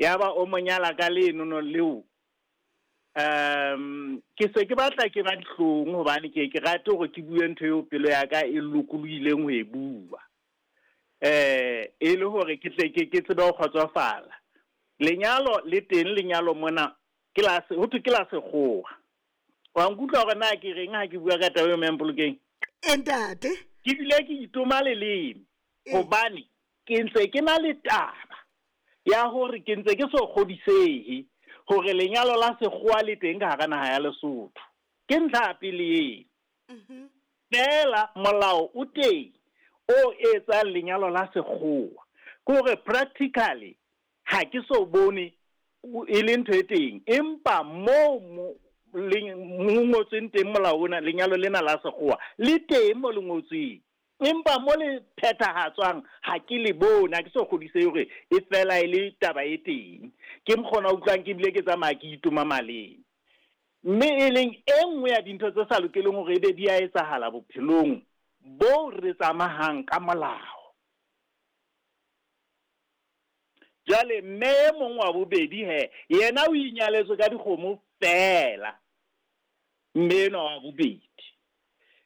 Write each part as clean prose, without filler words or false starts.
Yaba o mo nyala ka lenono leo. Ke se ke batla ke ba dihlong hobane ke ke rate hore ke bue ntho eo pelo ya ka e lokolohileng ho e bua. E le hore ke tle ke ke tsebe ho kgotsofala. Lenyalo le teng lenyalo mona ke la ho thwe ke la sekgowa. Wa nkutlwa hore na ke reng ha ke bua ka taba eo Mme Mpolokeng? E ntate. Ke bile ke itoma leleme hobane ke ntse ke na le taba ya hore ke ntse ke so kgodisehe hore lenyalo la sekgowa le teng ka hara naha ya Lesotho. Ke ntlha ya pele eo. Feela molao o teng o etsang lenyalo la sekgowa. Ke hore practically ha ke so bone e le ntho e teng, empa moo mo mo ngotsweng teng molao ona, lenyalo lena la sekgowa le teng mo le ngotsweng. Empa mo le phethahatswang ha ke le bone, ha ke so kgodisehe hore e fela e le taba e teng. Ke mokgona utlwang ke bile ke tsamaya ke itoma maleme. Mme e leng e nngwe ya dintho tse sa lokeleng hore ebe di a etsahala bophelong bo re tsamahang ka molao. Jwale mme e mong wa bobedi he, yena o inyaletswe ka dikgomo feela. Mme enwa wa bobedi.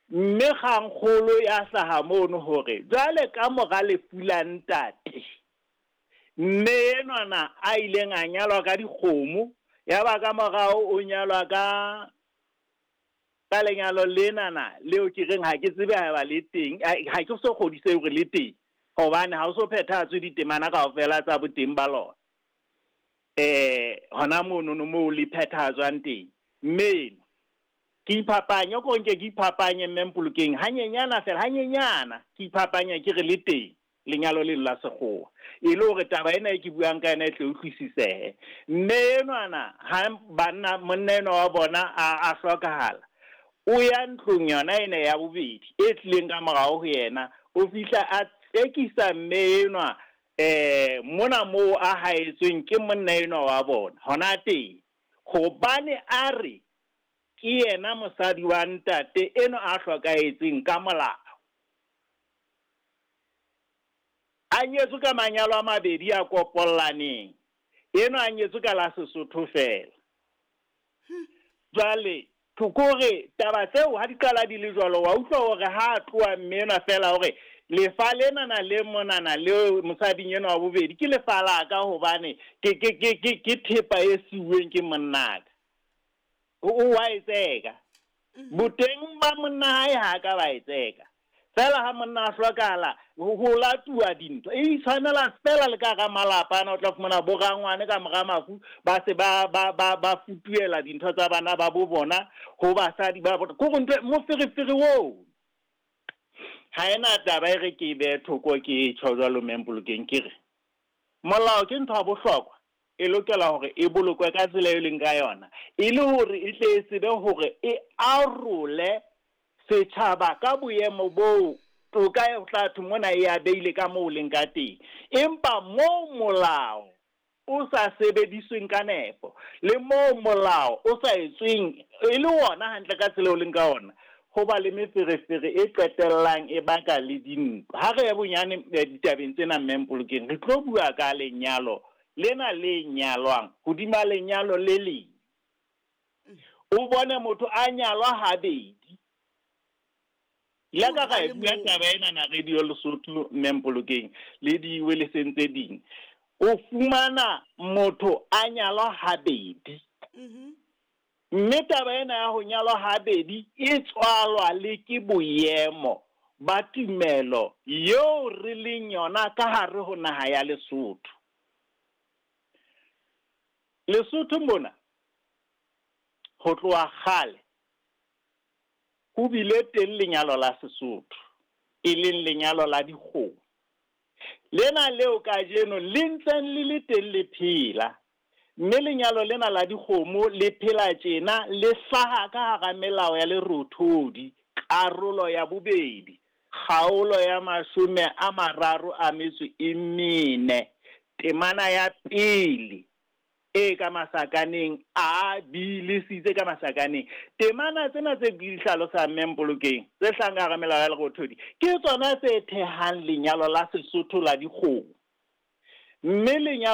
Mme kgangkgolo ya hlaha mono hore jwale ka mora lefu la ntate, mme enwana a ileng a nyalwa ka dikgomo, ya ba ka morao o nyalwa ka ka lenyalo lenana leo ke reng ha ke tsebe haeba le teng, ha ke so kgodisehe hore le teng, hobane ha o so phethahatswe ditemana kaofela tsa boteng ba lona. Hona monono moo le phethahatswang teng. Mme eno ke iphapanye, ko nke ke iphapanye Mme Mpolokeng hanyenyana fela, hanyenyana ke iphapanye ke re le teng lenyalo leno la sekgowa, e le hore taba ena e ke buang ka yona e tle utlwisisehe. Mme enwana ha banna monna enwa wa bona a hlokahala, o ya ntlong yona ena ya bobedi e tlileng ka morao ho yena, o fihla a tsekisa mme enwa mona moo a haetsweng ke monna enwa wa bona hona teng, hobane a re ke yena mosadi wa ntate enwa a hlokahetseng ka molao. A nyetswe ka manyalo a mabedi a kopollaneng, enwa a nyetswe ka la Sesotho feela. Jwale ke hore taba tseo ha di qala di le jwalo, wa utlwa hore ha a tloha mme enwa feela hore lefa lenana le monana le mosading enwa wa bobedi ke lefa la ka, hobane ke thepa e siuweng ke monnaka. O wa e tseka. Boteng ba monna hae ha ka ba e tseka. Feela ha monna a hlokahala ho latuwa dintho. E itshwanela feela le ka hara malapa ana, o tla fumana bo rangwane ka mora mafu ba se ba ba ba ba futuhela dintho tsa bana ba bo bona ho basadi ba bona. Ke hore ntho moferefere oo. Ha ena taba e re ke e behe thoko ke tjho jwalo Mme Mpolokeng, ke re molao ke ntho ya bohlokwa, e lokela hore e bolokwe ka tsela e leng ka yona, e le hore e tle e tsebe hore e arole setjhaba ka boemo boo toka e tla thwe mona e a beile ka moo leng ka teng. Empa moo molao o sa sebedisweng ka nepo, le moo molao o sa etsweng e le wona hantle ka tsela eo leng ka ona, ho ba le meferefere e qetellang e baka le dintwa. Ha re ye bonyane ditabeng tsena Mme Mpolokeng, re tlo bua ka lenyalo lena le nyalwang hodima lenyalo le leng. O bone motho a nyalwa habedi. Le ka ra e bua taba ena na Radio Lesotho Mme Mpolokeng le diweleseng tse ding. O fumana motho a nyalwa habedi. Mme taba ena ya ho nyalwa habedi e tswalwa le ke boemo ba tumelo eo re leng yona ka hare ho naha ya Lesotho. Lesotho mona ho tloha kgale ho bile teng lenyalo la Sesotho, e leng lenyalo la dikgomo. Lena leo kajeno le ntseng le le teng le phela, mme lenyalo lena la dikgomo le phela tjena le hlaha ka hara melao ya Lerothodi, karolo ya bobedi, kgaolo ya 34, temana ya pele e ka masakaneng A, B le C tse ka masakaneng. Temana tsena tse ke di hlalosang Mme Mpolokeng, tse hlahang ka hara melao ya Lerothodi, ke tsona tse thehang lenyalo la Sesotho la dikgomo. Mme lenyalo